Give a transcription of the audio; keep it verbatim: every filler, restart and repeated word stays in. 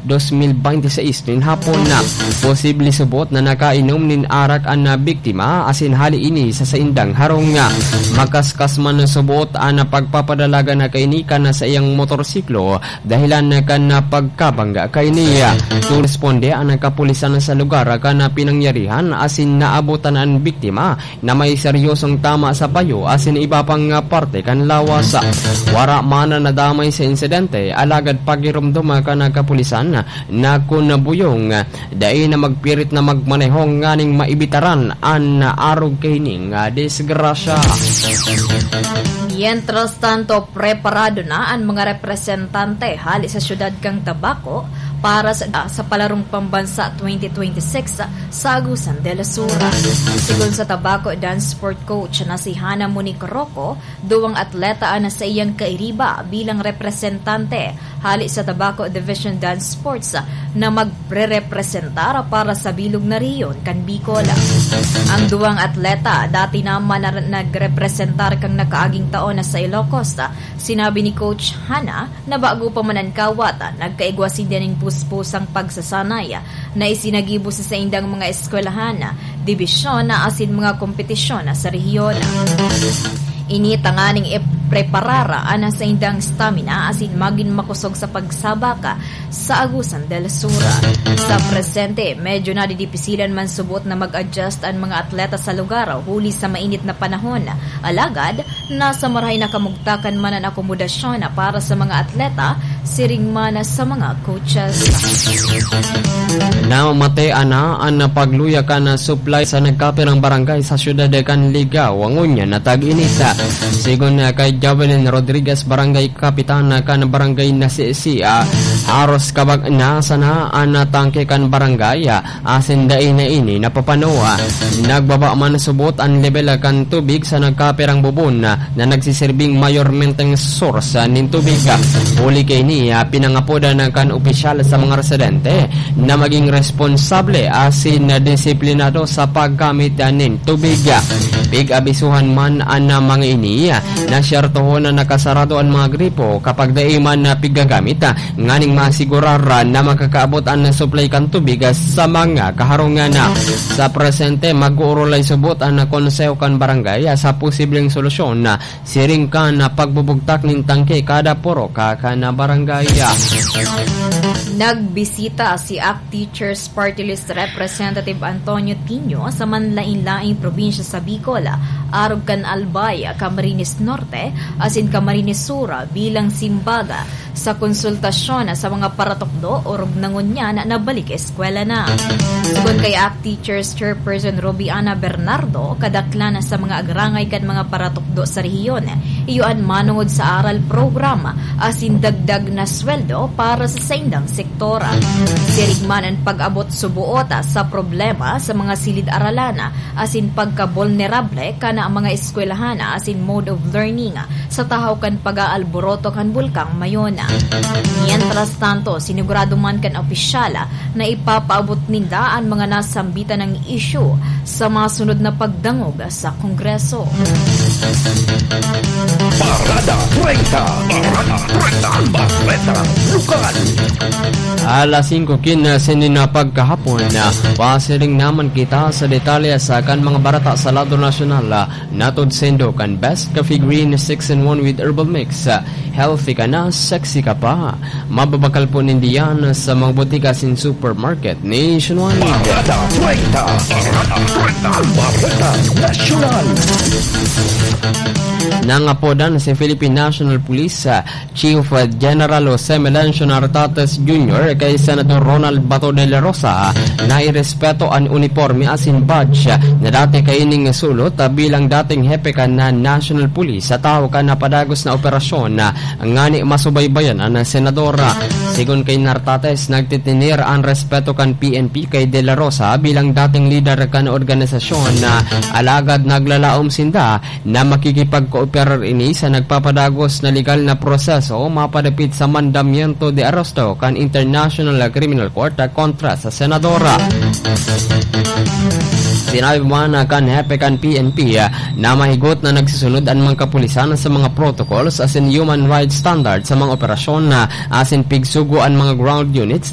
dos mil bente seis nin hapon. Posible subot na nakainom nin arak an biktima asin hali ini sa saindang harong. Makaskas man subot an pagpapadalagan na kaini kan saiyang motorsiklo dahilan kan pagkabangga kaini. Turesponde an kapulisan sa lugar kan pinangyarihan asin naabotan an biktima na may seryosong tama sa payo asin iba pang parte kan lawas. Wara man nadamay sa insidente, alagad pagiromdom kan kapulisan na kun buyong, dai na magpirit na magmaneho nganing maibitaran an arog kaining disgrasya. Mientras tanto, preparado na an mga representante hali sa siyudad kan Tabaco para sa, sa Palarong Pambansa twenty twenty-six sa Agusan del Sur. Sigon sa Tabaco Dance Sport Coach na si Hana Monique Rocco, duwang atleta an saiyang kairiba bilang representante hali sa Tabaco Division Dance Sports na magrerepresentar para sa bilog na rehiyon kan Bicol. Ang duwang atleta dati naman na nagrepresentar kan nakaaging taon na sa Ilocos. Sinabi ni Coach Hana na bago pa man an kawat, nagkaigwa sinda nin puspusang pagsasanay na isinagibo sa saindang mga eskwelahan, dibisyon asin mga kompetisyon sa rehiyon. Ini tanganing ipreparar an saindang stamina asin magin makosog sa pagsabak sa Agusan del Sur. Sa presente, medyo nadidipisilan man subot na mag-adjust an mga atleta sa lugar huli sa mainit na panahon. Alagad, nasa marahay na kamugtakan man an akomodasyon para sa mga atleta, siring man sa mga coaches. Namamatean na an pagluya kan supply sa nagkapirang barangay sa siyudad kan Ligao, ngunyan na tag-init. Sigon kay Jovelyn Rodriguez, barangay kapitan kan barangay na si, si, ah, haros kabag na sana an tangke kan barangay, ah, asin dai na ini napapano. Nagbaba man subot an lebel kan tubig sa nagkapirang bubon na, na nagsisirbing mayormenteng source nin tubig. Huli kaini, ah, pinangapodan kan opisyal sa mga residente na maging responsable asin disiplinado sa paggamit nin tubig. Pig-abisuhan man an mga ini na siyertohon na nakasarado an mga gripo kapag dai man na piggagamit, nganing maasigurar na makakaabot an supply kan tubig sa mga kaharungan. Sa presente, mag-uurulay subot an konseho kan barangay sa posibleng solusyon, siring kan pagbubugtak nin tangke kada purok kan barangay. Nagbisita si Act Teachers Party List Representative Antonio Tinio sa manlain-laing probinsya sa Bicol, arog kan Albay, Camarines Norte, asin Camarines Sur bilang simbag sa konsultasyon sa mga paratukdo orog na ngunyan nabalik eskwela na. Sigon kay Act Teachers Chairperson Ruby Ana Bernardo, kadaklan sa mga agrangay kan mga paratukdo sa rehiyon, iyo an manongod sa aral program asin dagdag na sweldo para sa saindang sektor. Siring man an pag-abot suboot sa problema sa mga silid-aralan asin pagkabulnerable kan mga eskwelahan asin mode of learning sa tahaw kan pag-aalboroto kan Bulkang Mayon. Mientras tanto, sinigurado man kan opisyal na ipapaabot ninda an mga nasambitan na isyu sa masunod na pagdangog sa Kongreso. Parada treinta. Parada treinta. Bareta Lokal. Alas singko kinse nin pagkahapon, pasiring naman kita sa detalye sa kan mga bareta sa lado nasyonal. Natod saindo kan Best Coffee Green six-in-one with herbal mix. Healthy ka na, sexy ka pa. Mababakal po nindo yan sa mga botika asin supermarket nationwide. Parada treinta. Parada treinta. Bareta Nasyonal. Nangapodan si Philippine National Police, ah, Chief General Jose Melencio Nartates Junior kay Senador Ronald Bato de la Rosa na irespeto an uniporme asin badge na dati kaining sulot bilang dating hepe kan National Police sa tahaw kan napadagos na operasyon ngani masubaybayan an senador. Sigon kay Nartates, nagtitineer an respeto kan P N P kay De La Rosa bilang dating lider kan organisasyon, alagad naglalaom sinda na makikipagkooperar ini sa nagpapadagos na legal na proseso mapadapit sa mandamiento de aresto kan International Criminal Court kontra sa senador. Sinabi man kan hepe kan P N P na mahigot na nagsusunod an mga kapulisan sa mga protocols asin human rights standards sa mga operasyon na asin pigsugo an mga ground units na